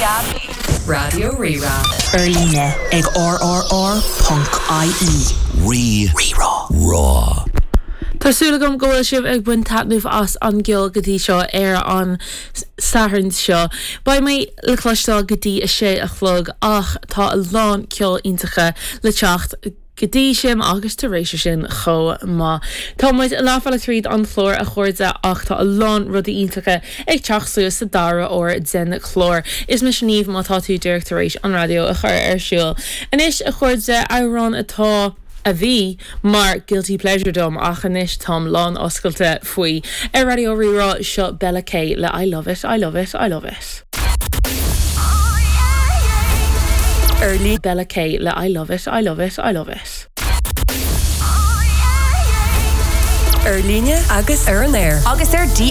DAB. Raidió Rí-Rá. Ar líne ag rrr.ie. Rí Rá. Tá súil agam go bhfuil sibh ag baint taitneamh as an gceol go dtí seo ar an Satharn seo. Beidh mé le cloisteáil go dtí a sé a chlog ach tá a lán ceol iontacha le teacht go dtí sin agus tar éis sin chomh maith. Tá muid leathbhealach tríd an chlár a chairde ach tá a lán rudaí iontacha ag teacht suas sa dara huair den chlár. Is mise Niamh má tá tú díreach tar éis an raidió a chur ar siúl. Anois a chairde, amhrán atá, a bhí, mar guilty pleasure dom ach anois táim lán oscailte faoi. Ar Raidió Rí-Rá, seo Bella K le I Love It, I Love It, I Love It. Ar líne. Bella K le I Love It, I Love It, I Love It. Ar líne agus ar an aer. Agus ar.